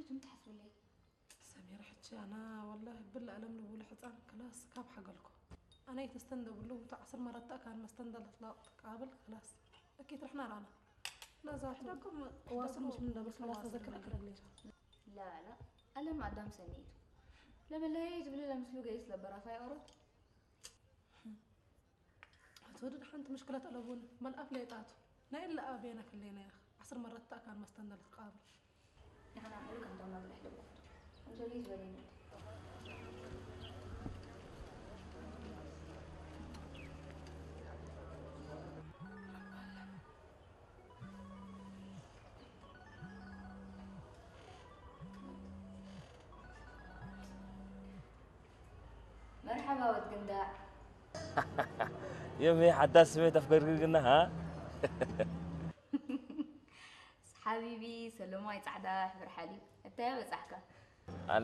ይቱም ትሓስብለይ ሰሚራ ሕጂ ኣና ወላሂ ብላ ኣለም ንብሉ ሕፃን ክላስ ካብ ሓገልኮ ኣናይ ተስተንደብሉ እቲ ዓስር መረታ ካን መስተንደለት ላቕ ትቃብል ክላስ እኪ ትርሕና ራና ነዛ ሕደኩም ዋስም ምሽ ምንደበስ ክላስ ተዘክር ኣክረግሌሻ لا لا ألم أدام سنيت لما لا يجب لي لمسلو جايس لبرافاي أورو ትወድድ ሓንቲ ምሽክለት ኣለቡን መልኣፍ ለይጣቱ ናይ ኢለ ኣቤና ክሌና ኢኻ ዓስር መረት ተኣካን መስተንደል ትቃብል ንሕና ኩሉ ከምቶም መብርሕ ድቦ እንጀሊ ዝበለኒ መርሓባ ወድ ግንዳዕ የመይ ሓዳስ ስሜት ኣፍገርግርግና ሃ ሓቢቢ ሰለማይ ጻዕዳ ሕብሪ ሓሊብ እንታይ በጻሕካ